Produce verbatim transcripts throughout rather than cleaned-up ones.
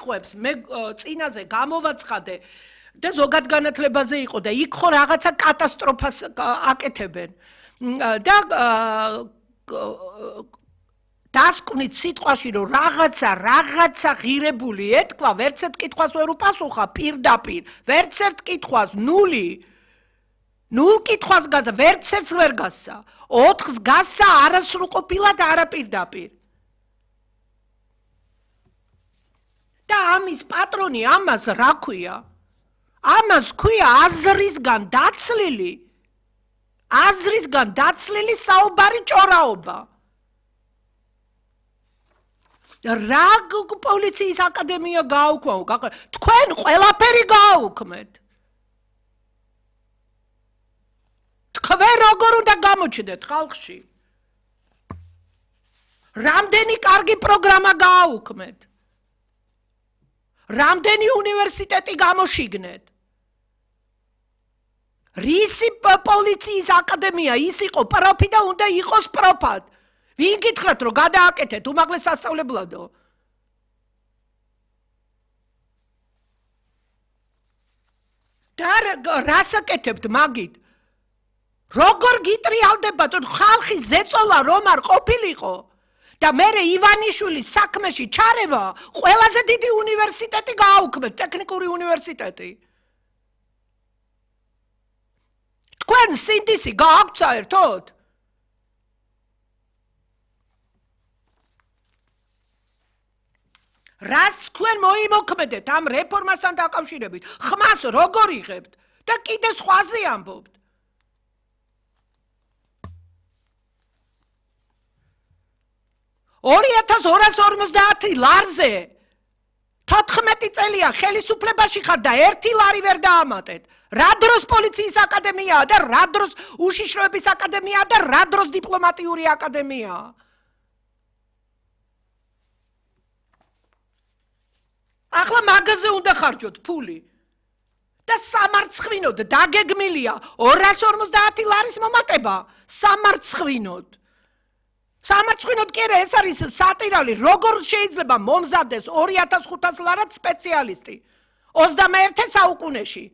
განსხვავებს მე წინაზე გამოვაცხადე და ზოგად განათლებაზე იყო და იქ ხო რაღაცა კატასტროფას აკეთებენ და დასკვნით სიტყვაში რომ რაღაცა რაღაცა ღირებული ეთქვა ვერც ერთ კითხვას ვერ უპასუხა პირდაპირ ვერც ერთ კითხვას ნული ნულ კითხვას გასა ვერც ერთს ვერ გასა ოთხს გასა არასრულყოფილად არაპირდაპირ და ამის პატრონი ამას რა ქვია ამას ქვია აზრისგან დაცლილი აზრისგან დაცლილი საუბარი ჭორაობა რა პოლიციის აკადემია გააუქმო თქვენ ყველაფერი გააუქმეთ თქვენ როგორ უნდა გამოჩნდეთ ხალხში რამდენი კარგი პროგრამა გააუქმეთ რამდენი უნივერსიტეტი გამოშიგნეთ რისი პოლიციის აკადემია ის იყო პროფი და უნდა იყოს პროფად ვინ გითხრათ რომ გადააკეთეთ უმაღლეს სასწავლებლადო და რას აკეთებთ მაგით როგორ გიტრიალდებათ ხალხის ზეწოლა რომ არ ყოფილიყო და მერე ივანიშვილის საქმეში ჩარევა ყველაზე დიდი უნივერსიტეტი გააუქმეთ ტექნიკური უნივერსიტეტი თქვენ სინდისი გააქვთ საერთოდ რას თქვენ მოიმოქმედეთ ამ რეფორმასთან დაკავშირებით ხმას როგორ იღებთ და კიდე სხვაზე ამბობთ ორი ათას ორას ორმოცდაათი ლარზე თოთხმეტი წელია ხელისუფლებაში ხარ და ერთი ლარი ვერ დაამატეთ რა დროს პოლიციის აკადემიაა და რა დროს უშიშროების აკადემიაა და რა დროს დიპლომატიური აკადემიაა ახლა მაგაზე უნდა ხარჯოთ ფული და სამარცხვინოდ დაგეგმილია ორას ორმოცდაათი ლარის მომატება სამარცხვინოდ სამარცხვინოდ კი არა ეს არის სატირალი როგორ შეიძლება მომზადდეს ორი ათას ხუთას ლარად სპეციალისტი ოცდამეერთე საუკუნეში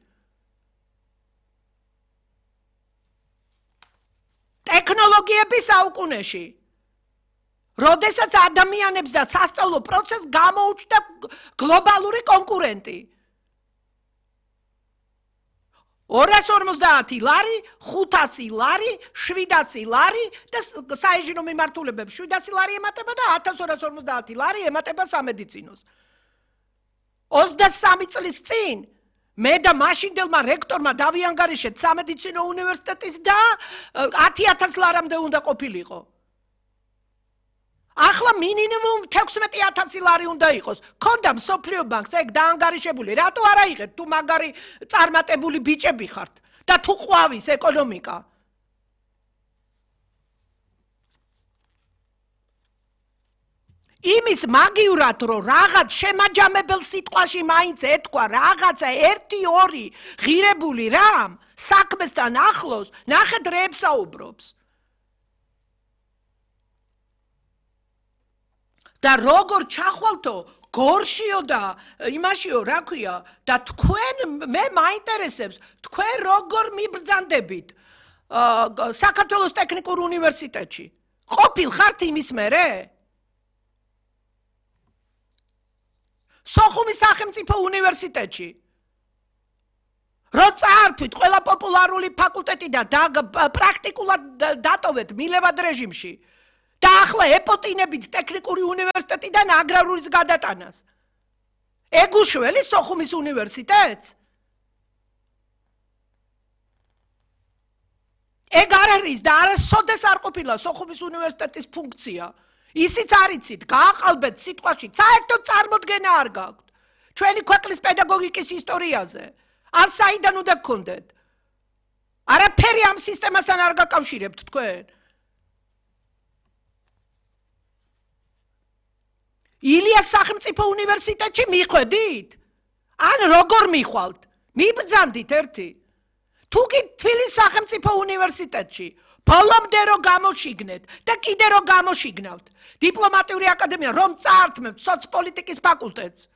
ტექნოლოგიების საუკუნეში როდესაც ადამიანებს და სასწავლო პროცესს გამოუჩნდა გლობალური კონკურენტი ორას ორმოცდაათი ლარი, ხუთასი ლარი, შვიდასი ლარი და საინჟინრო მიმართულებებს შვიდასი ლარი ემატება და ათას ორას ორმოცდაათი ლარი ემატება სამედიცინოს. ოცდასამი წლის წინ მე და მაშინდელმა რექტორმა დავიანგარიშეთ სამედიცინო უნივერსიტეტის და ათი ათას ლარამდე უნდა ყოფილიყო. ახლა მინიმუმ თექვსმეტი ათასი ლარი უნდა იყოს. ქონდა მსოფლიო ბანკს ეგ დაანგარიშებული. რატო არ აიღეთ თუ მაგარი წარმატებული ბიჭები ხართ და თუ ყვავის ეკონომიკა? იმის მაგივრად რომ რაღაც შემაჯამებელ სიტყვაში მაინც ეთქვა რაღაცა ერთი ორი ღირებული რამ საქმესთან ახლოს ნახეთ რებს საუბრობს. და როგორ ჩახვალთო გორშიო და იმაშიო რა ქვია და თქვენ მე მაინტერესებს თქვენ როგორ მიბრძანდებით საქართველოს ტექნიკურ უნივერსიტეტში ყოფილ ხართ იმის მერე სოხუმის სახელმწიფო უნივერსიტეტში რო წაართვით ყველა პოპულარული ფაკულტეტი და პრაქტიკულად დატოვეთ მილევად რეჟიმში და ახლა ეპოტინებით ტექნიკური უნივერსიტეტიდან აგრარურის გადატანას. ეგ უშველი სოხუმის უნივერსიტეტს? ეგ არ არის და არასოდეს არ ყოფილა სოხუმის უნივერსიტეტის ფუნქცია. ისიც არიცით, გააყალბეთ სიტყვაში, საერთოდ წარმოდგენა არ გაქვთ. ჩვენი ქვეყნის პედაგოგიკის ისტორიაზე. ან საიდან უნდა გქონდეთ? არაფერი ამ სისტემასთან არ გაკავშირებთ თქვენ. ილიას სახელმწიფო უნივერსიტეტში მიხვედით? ან როგორ მიხვალთ? მიბრძანდით ერთი. თუ კი თბილისის სახელმწიფო უნივერსიტეტში ბოლომდე რო გამოშიგნეთ და კიდე რო გამოშიგნავთ დიპლომატიური აკადემია რომ წაართმევთ სოცპოლიტიკის ფაკულტეტს